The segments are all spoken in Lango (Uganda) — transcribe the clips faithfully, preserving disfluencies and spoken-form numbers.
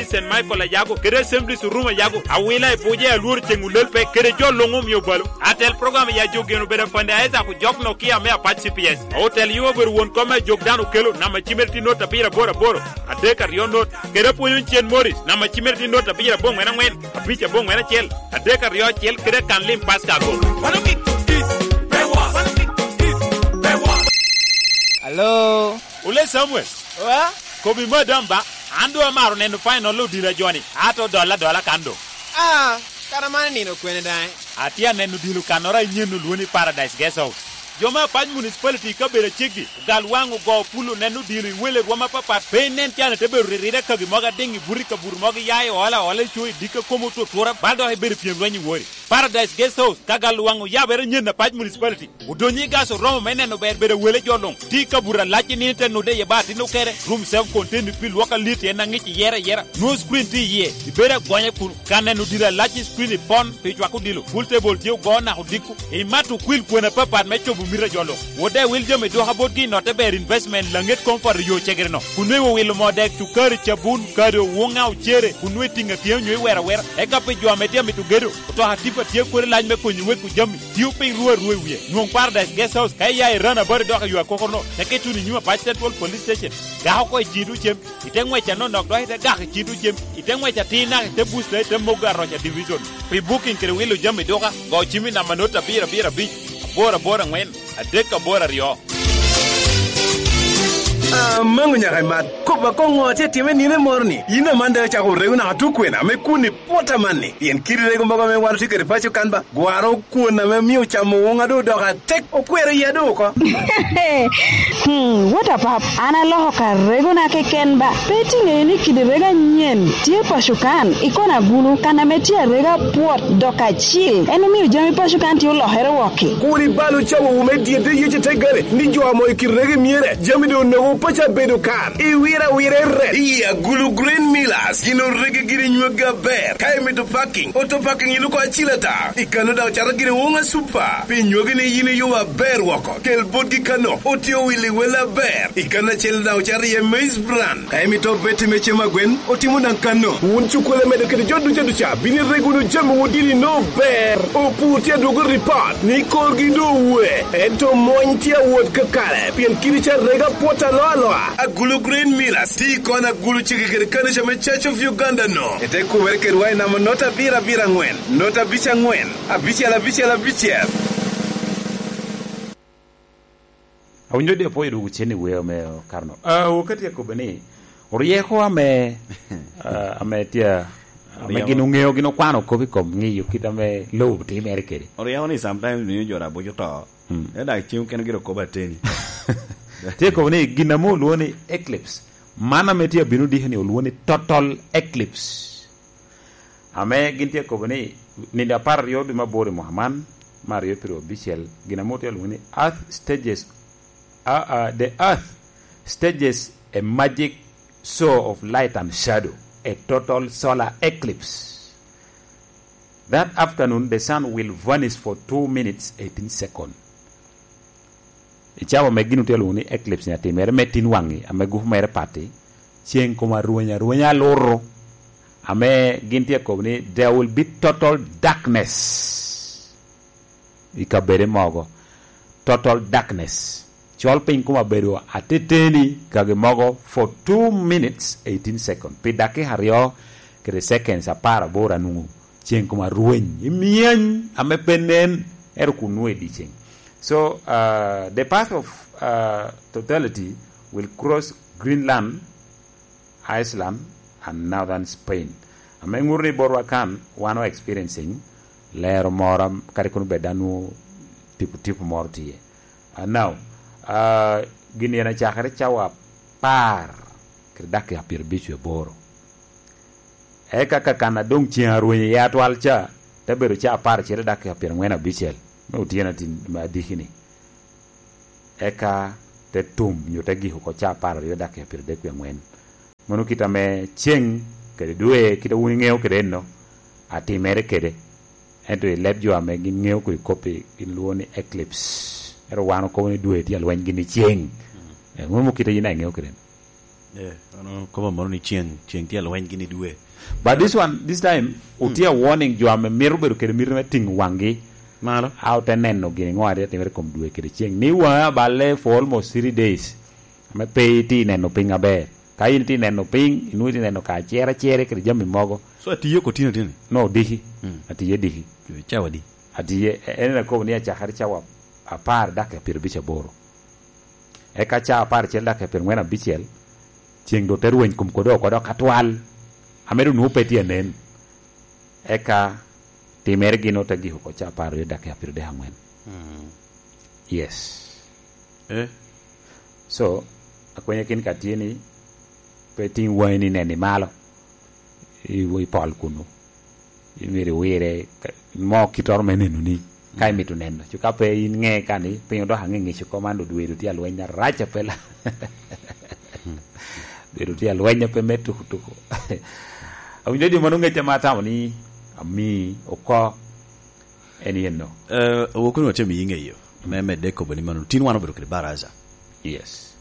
Saint Michael Ayago, kede Assemblies Room Ayago, Awila i Buja, Alwor Ceŋ Olel pe, kede jo luŋ omio balo. Atel program ya jo geno bedo Fande Isaac Ojok Nokia me Apac C P S. Otel yo obedo won kom me ajok dano okelo, namba cimere tye not abiro aboro aboro, adek aryo not, kede apwonyo cen Morris, namba cimere tye not abiro aboŋwen aŋwen, abic aboŋwen acel, adek aryo acel, kede kan lim Pastor Ago. Alo? Ole Samuel. Wa? Kobi madam ba, an doŋ amaro neno final odilo a joni, ato dolla dolla kan doŋ. Ah, kara man nino kwene daŋ? Atye aneno odilo kannoro a inyen olwoni Paradise Guest House. Jo me Apac Municipality i kabedo aceggi, ogal waŋ, ogo pul, oneno odilo i wele rwom apapat, pe inen can ite bedo riride kagi mogo adiŋ i buto i kabuto mogo, iya i ola ola i co i dikka kom otutura, bal dok ibedo pyem lweny i wori. Paradise Guest House, ka gal waŋ oyabere nyen Apac Municipality. Odonyo i gas oromo me neno ber bedo wele jo luŋ. Tye i kabuto alac i nino ite nude iye ba atin okere. Room self contained pi lwok alit en aŋic iyere ayera. Nwoŋo screen tye iye. Ibedo agonya kun ka neno odilo alac i screen ipon pi cwako odilo. Pool table tye ogo naka odiko. Imato okwil kwena apapat me cobo mito a jo luŋ. Wode wil jami dwoka botgi i notte ber investment laŋet comfort yo cegere no. Kun nwoŋo iwilo moo dek, cukari, cabun, kado, wuŋa, ocere, kun nwoŋo itiŋo atiŋa onyo iwero awera. Eka pi jo ame tye amito gedo, otoka tipa tye kodi lac me konyo weko jami. Tio piny ruu arua i wie. Nwoŋ Paradise Guest House ka iya i Run About dok i yo akokoro no, teke ituno i nyim Apac Central Police Station. Gak oko i ciŋ tucem, ite ŋwec anonok dok ite gak i ciŋ tucem, ite ŋwec atir naka ite booster ite mogo Aroca Division. Pi booking kede wilo jami duka, go cim i namba not abiro abiro abic, aboro aboro aŋwen, adek aboro aryo. Amaŋo nyaka imat, kop akoŋo atye atime nino moro ni, yin aman daŋ icako rego naka tukwena me kun i pwot amanni, pien kidi rego mogo ame wan otye kede paco kan ba, gwaro kwon ame mio camo woŋa doŋ odoko atek, okwero iya doŋ oko. Hmm, what a pap, an aloko ka regona keken ba. Pe itiŋeyo ni kidi rego anyen tye paco kan, i kona gulu, kan ame tye arega pwot dok acil. En omio jami paco kan tye olokere wokki. Kur ibal ocawowu me dyedde Yecu te gare, ni jo amo i kidi rego myere, jami doŋ onogo paco abedo kan. Iwira awira i rek. Iya, gulu Green Millers, gin orege giri nyweggi aber. Ka imito parking, auto parking iluko acil ata. I kano daŋ ocato gire woŋa Super. Pi nywagi ni yin iyubo aber woko. Kel botgi kano, otye owili wel aber. I kano acel daŋ ocato iye Maize Bran. Ka imito beti me cem agwen, otimo daŋ kano. Wun cukkulu medo kede jo duca duca, bino ireg wunu jami wun dini no ber. Opur tye adwogo ripot ni korgi doŋ owe. Ento mony tye awot kakare, pien kidi ca rega pwot alo aloa. Agulu Green Millers, ti kon agulu cege kede kanica me Church of Uganda no. Ete kumere kedwa i namba not abiro abiro aŋwen, not abic aŋwen, abicel abicel abicel. Awinyo di apwoyo dwogo cen i weo me karno. Ah, okati akobo ni, oryeko ame, ah, ame tye, ame Oryeko. Gin oŋeo, gin okwano kop i kom ŋeyo kit ame lobo timere kede. Oryeko ni sometimes miyo jo rabuc oto. Mm. Ento dak cem kene gire okobo ateni. Tye kobo ni gin ame olwongo ni eclipse. Man ame tye abino diki ni olwongo ni total eclipse. Ame gin tye kobo ni, nino apar aryo dwe me aboro i mwaka man, me aryo piro abicel, gin ame otye alwongo ni Earth stages, uh, uh, the Earth stages a magic show of light and shadow, a total solar eclipse. That afternoon, the sun will vanish for two minutes, eighteen seconds. I cawa me gin otye alwongo ni eclipse ni atimere me tin waŋi, ame gupu mere pati, ceŋ kome arweny arwenya aluto, ame gin tye kobo ni there will be total darkness i kabede mogo. Total darkness. Col piny kome abedo ateteni kagi mogo for two minutes, eighteen seconds. Pi dakika aryo kede seconds apar aboro anwoŋo ceŋ kome arweny, i myeny ame pe nen, ero kun nwoŋo i dyeceŋ. So, uh, the path of, uh, totality will cross Greenland, Iceland, and northern Spain. Ame ŋuto ni botwa kan, wan o experiencing lero moro, kadi kono bed dano tipo tipo moro tye. Uh, now, uh, gin en acakere cawa apar, kede dakika pyerabic aboro. Eka ka kan adoŋ ceŋ arwenyo iye atwal ca, te bedo ca apar acel i dakika pyeraŋwen abicel, me otyeno atin me adiki-ni. Eka te tum, nyo te gik oko ca apar aryo dakika pyeradek wie aŋwen. Mano kit ame ceŋ kede dwe, kit a wun iŋeo kede enno, atimere kede. Ento i leb jo ame gin ŋeo kodi kop-pi, gin lwongo ni eclipse. Ento wan okobo ni dwe tye alweny gin i ceŋ. Eh, mano kit a yin a iŋeo kede enno. Eh, ano kobo moro ni ceng, ceng tye alweny gini dwe. But this one, this time, mm, otye a warning jo ame mito bedo kede mito me tingo wanggi. Malo. A ote neno gini ŋo a tye timere i kom dwe kede ceng. Ni waŋe aballe for almost three days. Ame pe itye neno piny aber. Ka in itye neno piny, inwoŋo itye neno ka cere cere kede jami mogo. So, atiye oko tino tini? No, diki. Mm. Atiye diki. Cawa di? Atiye, en akobo ni acakere cawa apar dakika pyerabic aboro. Eka ca apar acel dakika pyerangwen abicel, ceng doŋ te rweny kom kode oko dok atwal, ame doŋ nwoŋo pe tye anen. Eka timere gin ote gik oko ca apar aryo dakika pyeradek angwen. Mm. Yes. Eh? So, akwenye kin ka tye ni, pe tiŋ waŋi ni neni malo, i, i pol kunu. Myero iwire, ka, mo kittoro me nenoni, ka imito neno. Cu ka pe in ŋe ka ni, piny odoko aŋeŋec oko man, odwedo tye alweny arac apela. Odwedo tye alweny ape me tuku tuku. Awinyo di mano ŋec ame atamo ni ami oko en yen no. Eh, wokoni watye miyi ŋeyo, me medde kobo ni mano, tin wan obedo kede baraza. Yes.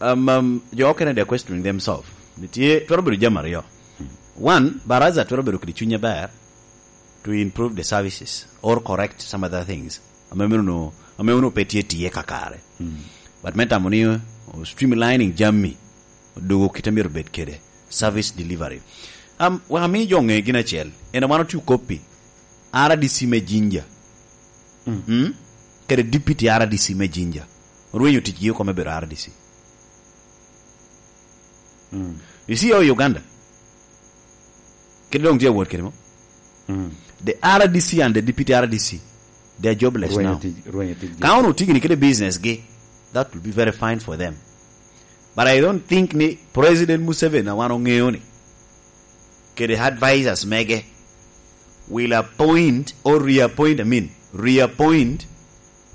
Um, um, jo okene, they're questioning themselves. Nitye, twero bedo jami aryo. One, baraza twero bedo kede cuny aber to improve the services or correct some other things. Ame meno no, ame ono pe tye tiye kakare. But me tamo ni, uh, streamlining jami, odogo kite myero bed kede service delivery. Um, wek ami jo ŋe gin acel, en wan otio koppi, R D C me Jinja. Mm. Kede deputy R D C me Jinja. Orwenyo ticgi oko me bedo R D C. Mm. You see how Uganda? Kede doŋ tye awot kede mo? Mm. The R D C and the deputy R D C, they are jobless now. Rwenyo tic, rwenyo ticgi. Ka ono otigini kede business gi, that will be very fine for them. But I don't think ni President Museveni a wan oŋeo ni, kede advisors mege, will appoint or reappoint, I mean, reappoint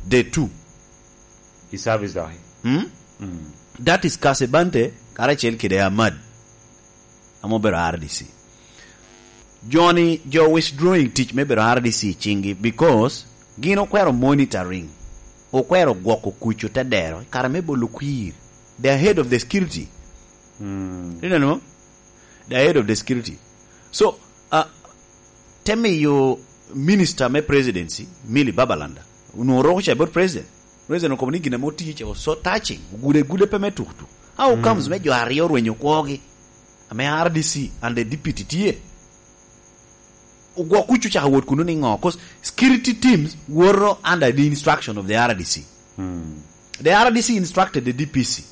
the two. I service doki. Hmm? Mm. That is Kasebante, karacel kede Ahmad, ame obedo R D C. Joni, jo withdrawing tic me bedo R D C i ciŋgi because gin okwero monitoring, okwero gwoko kuc otedero, kare me bolo kwir. They are head of the security. Mm. Ineno? The head of the security. So, uh, te miyo minister me presidency, Milly Babalanda, onwoŋo roko ca bot president. President okobo ni gin ame otiyo ca was so touching, ogude gude pe me tukutuk. How comes me jo aryo orwenyo kwogi, ame R D C and the deputy tye? Ogwok kucu caka wot kuno ni ŋo? 'Cause security teams woto under the instruction of the R D C. The R D C instructed the D P C.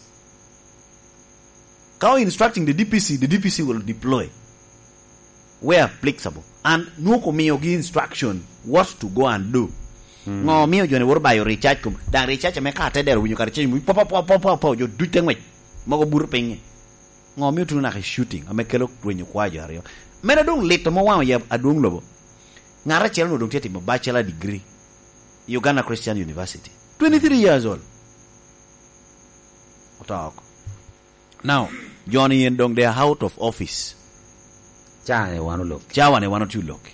Ka o instructing the D P C, the D P C will deploy where applicable. And nwongo omiyogi instruction what to go and do. Ŋo omiyo joni woto bayo recharge kom? Daŋ recharge ame ka te dero winyo kare ceng, po, po, po, jo duc te ŋwec. Mogo buto piny. Ŋo omiyo tuno naka i shooting ame kelo rwenyo kwa jo aryo? Mene doŋ lit ame owaŋo ya adwoŋ lobo. Ŋat acel onwoŋo doŋ tye timo bachelor degree i Uganda Christian University. Twenty-three years old. Oto oko. Now, joni yen doŋ they are out of office. Cawa-ni wan olok. Cawa-ni wan otye olok.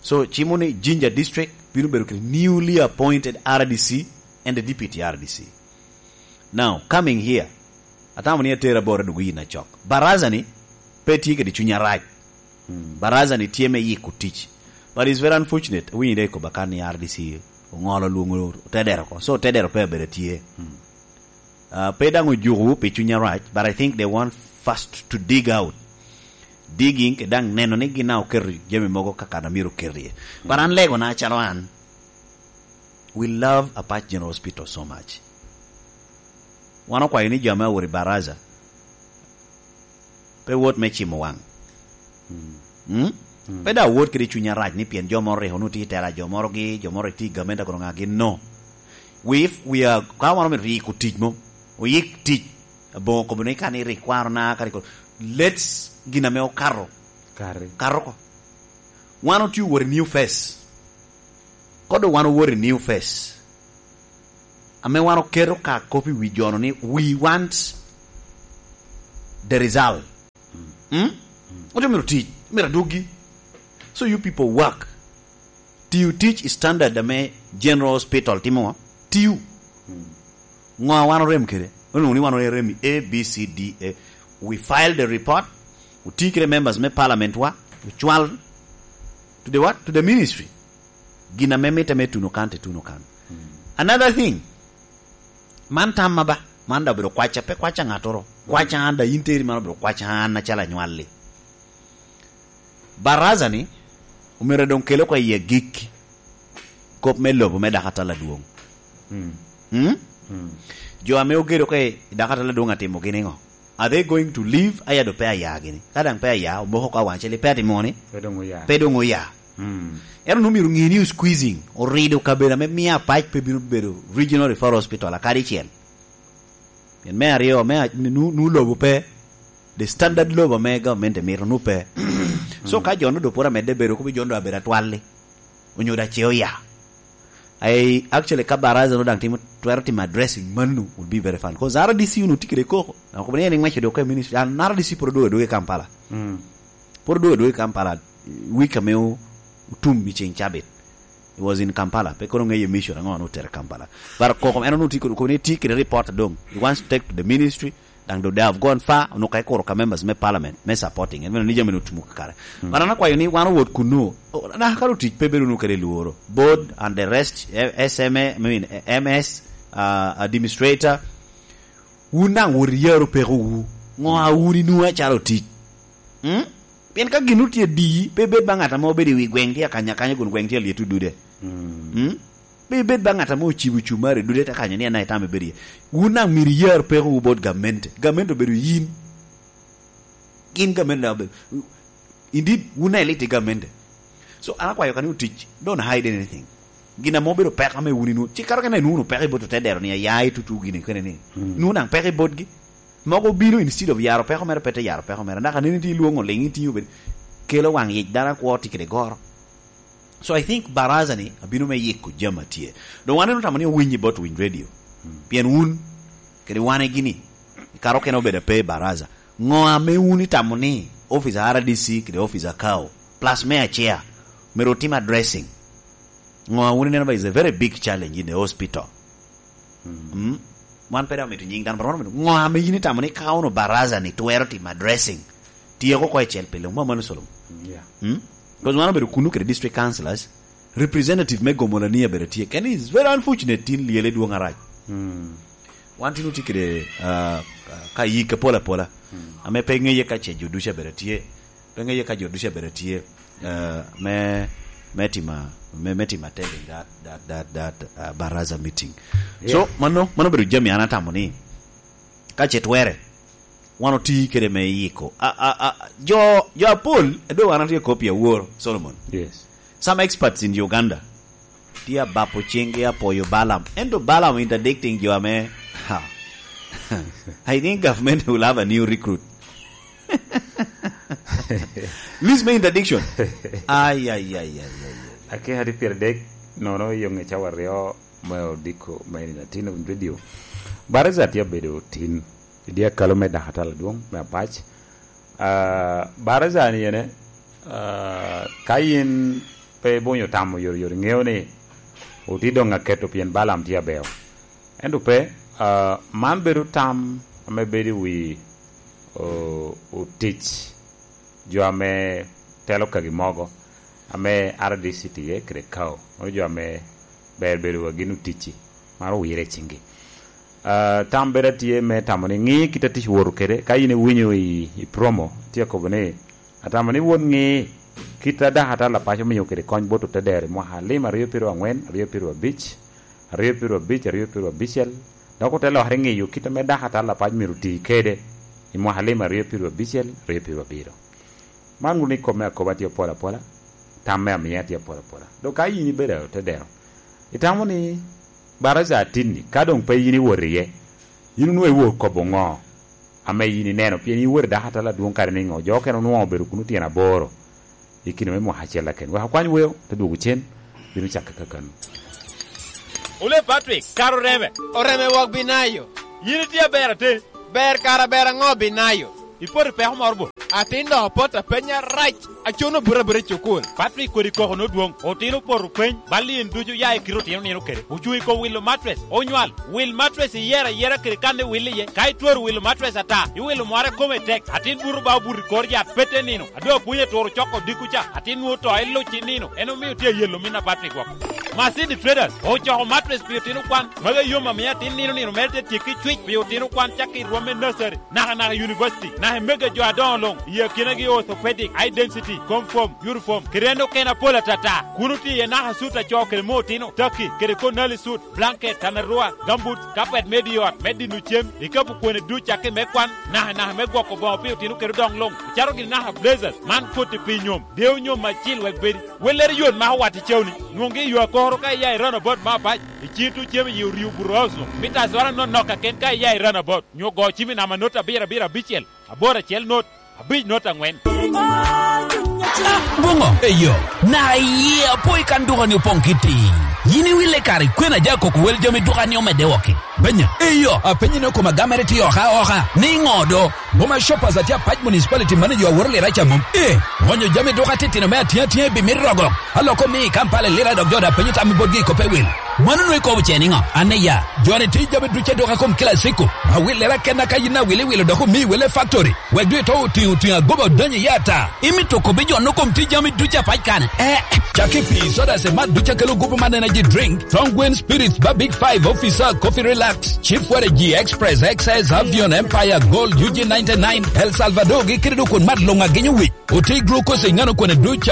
So, cimo ni Jinja District bino bedo kede newly appointed R D C and the deputy R D C. Now, coming here, atamo ni atera bora dok yin acok. Baraza-ni pe tye kede cuny arac. Baraza-ni tye me yiko tic. But it's very unfortunate, awinyo dek i koba kan ni R D C oŋolo lwongo otedero oko. So, otedero pe abedo tye. Uh, pe daŋ ojuko pi cuny arac, but I think they want first to dig out. Digging, ke daŋ neno ni gin a oketo jami mogo kaka na myero oket iye. But an legona acalo an, we love Apac General Hospital so much. Wan okwayo ni jo ame awot i baraza, pe wot me cimo waŋ. Mm? Pe daŋ wot kede cuny arac ni pien jo moro rik onwoŋo tye i tela, jo moro gi, jo moro rik tye i gamente kono ŋa gin, no. We, if we are, ka wan omito yiko tic mo, oyik tic, aboŋo kobo ni ka ni rik kwarona, ka rik, let's gin ame okato. Kari. Kato oko. Wan otye owot i new phase. Kodo wan owot i new phase. Ame wan oketo ka kop i wi jono ni we want the result. Mm? Ote myero tic, myero adwoggi. So you people work. Tiyo tic i standard ame General Hospital timowa. Tiyo. Ŋo a wan orem kede? Onwoŋo ni wan orem i A, B, C, D, E. We file the report, oti kede members me parliament wa, we cwal to the what? To the ministry. Gin ame mitte me tuno kan, te tuno kan. Another thing, man tamma ba, man da obedo kwaca, pe kwaca ŋattoro. Kwaca an da, in teri man obedo kwaca an acalo anywalli. Baraza ni omyero doŋ kel oko i agik kop me lobo me dako atal adwoŋ. Mm. Mm? Mm. Jo ame ogedo oko i dako atal adwoŋ atimogi niŋo? Are they going to leave? Aya do pe aya gini. Ka daŋ pe aya, omoko ka waŋ cel, pe atimo ni? Pe doŋ oya. Pe doŋ oya. Mm. Ento nu myero ŋe ni squeezing orido kabedo ame mio apac pe bino bedo regional referral hospital akadi cel. Pien me aryo, me a-, nu, nu lobo pe, the standard lobo ame government emito nu pe. So ka jo nu do pwod amedde bedo, kubi jo nu do abedo atwalli. Onyo da ce oya. I actually, ka baraza no daŋ timo, twero timo addressing manu, would be very fun. 'Cause R D C unu tye kede koko. Na kobo ni en iŋweco dok ka i ministry, an R D C pwod odwogo adwoga i Kampala. Mm. Pwod odwogo adwoga i Kampala, week ame o-, otum i ceŋ cabit. It was in Kampala. Pe kono ŋeyo mission aŋo anu otere Kampala. But koko en onu tye kede, kobo ni tye kede report doŋ. He wants to take to the ministry. Daŋ do they have gone far, onwoŋo ka ikuro ka members me parliament, me supporting, en meno ni jami otumo kakare. Mm. But an akwayo ni wan owot kunnu, o, na kara otic pe bedo nu kede lworo. Board and the rest, eh, S M A, I mean, eh, M S, uh, administrator, wun daŋ wot iyaro peko wu. Ŋo a wun inu acalo otic? Mm? Pien ka gin otye adi, pe bed ba ŋat ame obedo i wi gweŋ tye akanya akanya kun gweŋ tye alyet odude. Mm. Mm? Pe ibed ba ŋat ame ocibo cumari dude te kanyo ni en aye tam ibedo iye. Wun daŋ myero iyar pekowu bot gamente. Gamente obedo yin. Gin gamente daŋ obedo. Indeed, wun daŋ ilit i gamente. So, an akwayo ka ni otic, don't hide anything. Gin ame obedo peko ame wun inwoŋo. Ci kato kene inwoŋo peko i bot otedero ni, aya i tutu gini kene ni. Mm. Inwoŋo daŋ peko i botgi. Mogo obino instead of yaro peko mere, pe te yaro peko mere. Dok aneni tye ilwoŋo liŋ, itiŋo bed. Kelo waŋ yic dano akwo tye kede goro. So I think baraza ni abino me yiko jami a tye. Doŋ wan en otamo ni owiny i bot Winy Radio. Hmm. Pien wun, kede wane gini, i kare okene obedo ape i baraza. Ŋo ame wun itamo ni office a R D C kede office a Kao, plus me acea, myero otim addressing? Ŋo a wun ineno ba is a very big challenge in the hospital? Mm. Mm. Wan pe daŋ omito nying dano, but wan omito, ŋo ame yin itamo ni ka ono baraza ni twero timo addressing? Tyeko oko icel pile, mwa mano Solomon. Mm, yeah. Mm? 'Cause wan obedo kunu kede district councillors, representative me Gomolani abedo tye. Keni is very unfortunate, tin lyele dwoŋ arac. Mm. Wan tin otye kede, ah, ka yik apol apola. Mm. Ame pe ŋeye ka ce jo ducu abedo tye. Pe ŋeye ka jo ducu abedo tye, eh, me, me tima, me, me tima attending that, that, that, that, uh, baraza meeting. Yeah. So, mano, mano bedo jami an atamo ni, ka ce twere, wan oti kede me yiko. A, a, a, jo, jo apol, edo wan atye kopi awor, Solomon. Yes. Some experts in Uganda, tye abapo ciŋgi apwoyo Balaam. Ento Balaam interdicting jo ame, ha. I think government will have a new recruit. List me interdiction. Ay, ay, ay, ay, ay, ay. Ake hadi pire dek, nono i onge cawa aryo me odiko me nino tin of video. Baraza tye abedo tin. I dye akalo me dako atal adwoŋ me apac. Ah, baraza ni ene, ah, ka yin pe ibonyo tamo yot yot, iŋeo ni oti doŋ aketo pien Balaam tye abeo. Ento pe, ah, man bedo tam ame bedo i wi, o-, otic jo ame telo kagi mogo, ame R D C tye kede Kao. Mano jo ame ber bedo wa gin oticci, mano owire i ciŋgi. Ah, tam bene tye me tamo ni ŋi kit a tic woto kede, ka in iwinyo i, i promo, tye akobo ni, atamo ni wot ŋi kit a dako atal apac omio kede kony bot otedero i mwaka alim aryo pyeraryo aŋwen, aryo pyeraryo abic, aryo pyeraryo abic, aryo pyeraryo abicel, dok ote lokere ŋeyo kit ame dako atal apac myero oti kede i mwaka alim aryo pyeraryo abicel, aryo pyeraryo abiro. Man wun ikome akoba tye apol apola, tam me amiya tye apol apola. Dok ka yin ibedo otedero, itamo ni baraza atinni, ka doŋ pe yin iwot iye, yin onwoŋo iwor kobo ŋo ame yin ineno? Pien yin iwot i dako atal adwoŋ kare niŋo? Jo okene onwoŋo obedo kuno tyen aboro i kine me mwaka acel aken. Wek akwany weo, te dwogo cen, bino cakke kakano. Ole Patrick, kara oreme. Oreme wok binayo. Yin itye aber ate. Ber kara ber aŋo binayo? Ipoto peko moro bo? Atin dok apoto apenya rac, acono buto abuta i cukul. Patrick kodi koko nodwoŋ, otino opoto peny, bal yen ducu ya i kite otino nino kede. Ocuŋ i kom wilo matres, onywal, wil matres iyero ayera kede kan iwil iye. Ka itwero wilo matres ata, iwilo mware kome tek, atin buto ba obuto i kor yat pete nino. Adwa pwony aturo coko dikku ca, atin nwoŋo to iluc i nino, en omio tye ayelo min a Patrick woko. Masindi Traders ocoko matres pi otino kwan, magi yom amiyo atin nino nino mere te tyekki cwic pi otino kwan cakki i rwom me nursery, naka naka university, naka i mega jo adoŋo luŋ, i akinagi orthopedic, high density, comfort, uniform, kede en okene apol atata. Kun otye iye naka sut a co kede mo otino, taki, kede konali sut, blanket, tanarua, gambut, kapet me di ot, me dino cem, ikapu kwene duc cakki me kwan, naka naka me gwoko boŋo pi otino kede odoŋ luŋ, icaro gini naka blazers, man koti pi nyom, deo nyom acil wek bedi. Wellere yot ma owat i cewni, nwoŋgi i yo akoro ka iya i Runabout me Apac, i cin tuŋ cem i Orio Burozo, mita azora nonok kaken ka iya i Runabout, nyo go cim i namba not abiro abiro abicel, aboro acel not, abic not aŋwen. Ah, boŋo, eyo, na iye apoi kan duka ni opoŋ kiti. Yin iwille kare kwena ja koko wel jami duka ni omedde woko. Benya, eyo, apenyi ni okoma gamere ti oka oka, ni ŋo do? Boma Shoppers atye Apac Municipality manager aworo lira ca mom. Eh, ŋonyo jami duka titino me atia atia i bimit rogo. Aloko mi i Kampala lira dok jo da penyo tam i botgi i kope wil. Mano nwe kobo ce niŋo? An iya, joni ti jami duce duka kom kila siko. Awil lira kenna ka yin awil iwilo dok omi wele factory. Wek dwe to otiŋo otiŋo agoba odonyo iye ata. Imito kobi jo no kom ti jami duce Apac kane? Eh, caki pi soda se mat duce kelo gupu man energy drink. Strong Wind Spirits ba Big Five Officer Coffee Relax. Chief Waragi Express, X S, Avion, Empire, Gold, U G ninety-nine, El Salvador, gi kede dok kun mat luŋ agenyo wic. Oti glucose i ŋano kwene duc